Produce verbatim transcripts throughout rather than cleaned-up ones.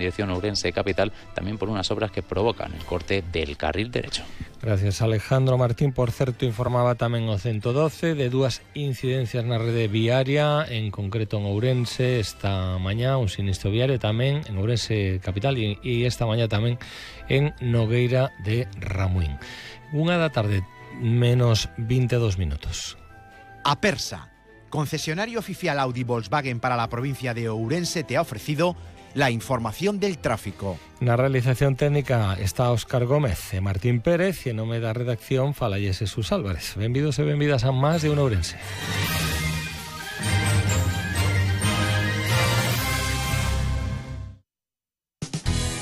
dirección Ourense Capital, también por unas obras que provocan el corte del carril derecho. Gracias, Alejandro Martín. Por certo, informaba tamén o ciento doce de dúas incidencias na rede viaria, en concreto en Ourense esta mañá, un sinistro viario tamén en Ourense Capital e, e esta mañá tamén en Nogueira de Ramuín. Unha da tarde, menos veintidós minutos. Apersa, concesionario oficial Audi Volkswagen para la provincia de Ourense, te ha ofrecido la información del tráfico. Na realización técnica está Óscar Gómez e Martín Pérez e en nome da redacción falalle Jesús Álvarez. Benvidos e benvidas a Más de un Ourense.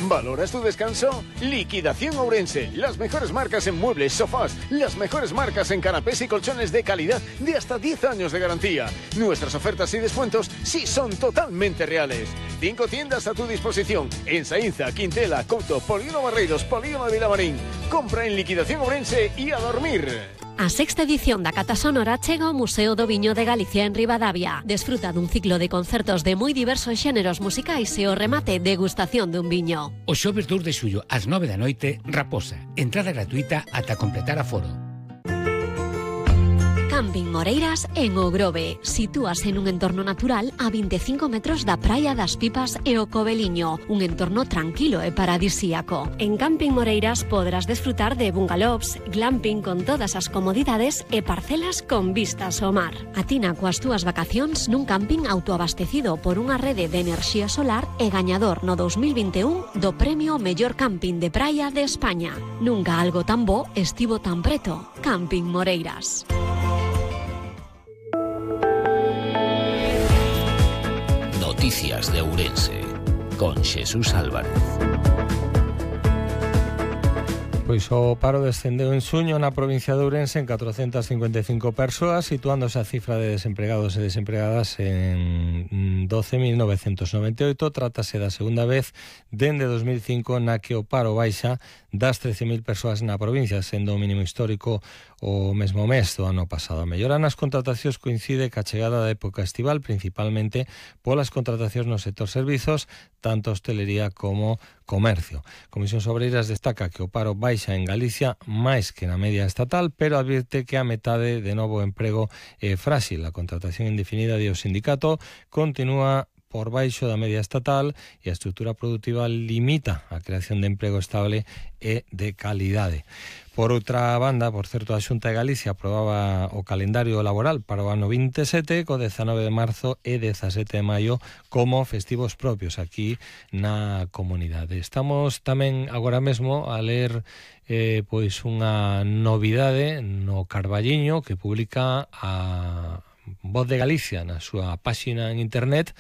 ¿Valoras tu descanso? Liquidación Ourense. Las mejores marcas en muebles, sofás, las mejores marcas en canapés y colchones de calidad de hasta diez años de garantía. Nuestras ofertas y descuentos sí son totalmente reales. Cinco tiendas a tu disposición en Saínza, Quintela, Couto, Polígono Barreiros, Polígono de Vilamarín. Compra en Liquidación Ourense y a dormir. A sexta edición da Cata Sonora chega ao Museo do Viño de Galicia en Ribadavia. Desfruta dun ciclo de concertos de moi diversos xéneros musicais e o remate degustación dun viño. O xoves dous de xullo ás nove da noite, Raposa. Entrada gratuita ata completar aforo. Camping Moreiras en O Grove. Sitúase nun entorno natural a veinticinco metros da Praia das Pipas e o Coveliño, un entorno tranquilo e paradisíaco. En Camping Moreiras podrás desfrutar de bungalows, glamping con todas as comodidades e parcelas con vistas ao mar. Atina coas túas vacacións nun camping autoabastecido por unha rede de enerxía solar e gañador no dos mil vinte e un do premio Mellor Camping de Praia de España. Nunca algo tan bo estivo tan preto. Camping Moreiras. Noticias de Ourense, con Jesús Álvarez. Pois o paro descendeu en xuño na provincia de Ourense en catrocentas cincuenta e cinco persoas, situándose a cifra de desempregados e desempregadas en doce mil novecentos noventa e oito. Trátase da segunda vez dende dos mil cinco na que o paro baixa das trece mil persoas na provincia, sendo o mínimo histórico o mesmo mes do ano pasado. A mellora nas contratacións coincide ca chegada da época estival, principalmente polas contratacións no sector servizos, tanto hostelería como comercio. Comisións Obreiras destaca que o paro baixa en Galicia máis que na media estatal, pero advirte que a metade de novo emprego é frágil. A contratación indefinida de o sindicato continúa por baixo da media estatal e a estrutura productiva limita a creación de emprego estable e de calidade. Por outra banda, por certo, a Xunta de Galicia aprobaba o calendario laboral para o ano veintisiete, co dezanove de marzo e dezasete de maio como festivos propios aquí na comunidade. Estamos tamén agora mesmo a ler eh, pois unha novidade no Carballiño que publica a Voz de Galicia na súa páxina en internet,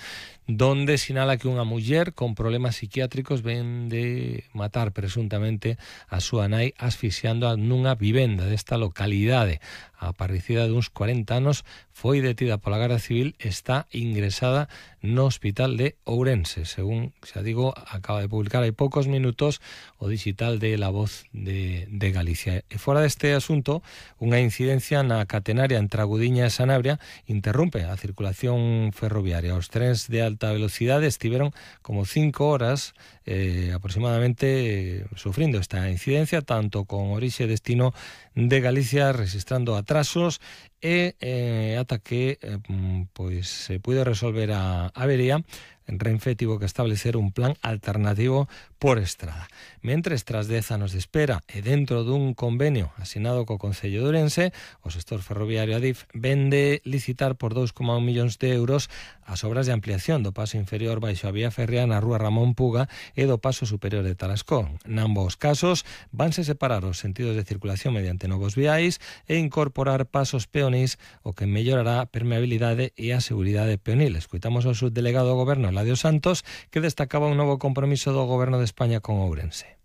donde sinala que unha muller con problemas psiquiátricos ven de matar presuntamente a súa nai asfixiando nunha vivenda desta localidade. A parricida duns cuarenta anos foi detida pola Garda Civil e está ingresada no Hospital de Ourense. Según, xa digo, acaba de publicar hai poucos minutos o digital de La Voz de, de Galicia. E fora deste asunto, unha incidencia na catenaria entre Agudiña e Sanabria interrumpe a circulación ferroviaria. Os trens de alta velocidade estiveron como cinco horas eh, aproximadamente eh, sufrindo esta incidencia, tanto con orixe e destino de Galicia, registrando atrasos e eh, ata que eh, pois se puide resolver a avería. Renfe tivo que establecer un plan alternativo por estrada. Mentres, tras dez anos de espera e dentro dun convenio asinado co Concello de Ourense, o sector ferroviario Adif vende licitar por dous coma un millóns de euros as obras de ampliación do paso inferior baixo a vía férrea na rúa Ramón Puga e do paso superior de Talascón. Nambos casos, vanse separar os sentidos de circulación mediante novos viais e incorporar pasos peonís, o que mellorará a permeabilidade e a seguridade peonil. Escoitamos ao subdelegado do Goberno, Eladio Santos, que destacaba un novo compromiso do Goberno de España con Ourense.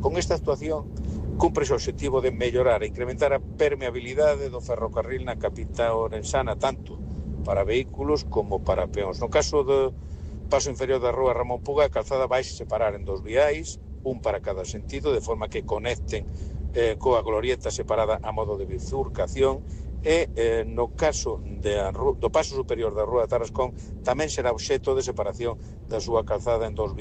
Con esta actuación cumpre o objetivo de mellorar e incrementar a permeabilidade do ferrocarril na capital ourensana, tanto para vehículos como para peóns. No caso do paso inferior da rúa Ramón Puga, a calzada vai separar en dous viais, un para cada sentido, de forma que conecten eh, coa glorieta separada a modo de bifurcación, e eh, no caso de a, do paso superior da Rúa de Tarrascón tamén será obxecto de separación da súa calzada en dous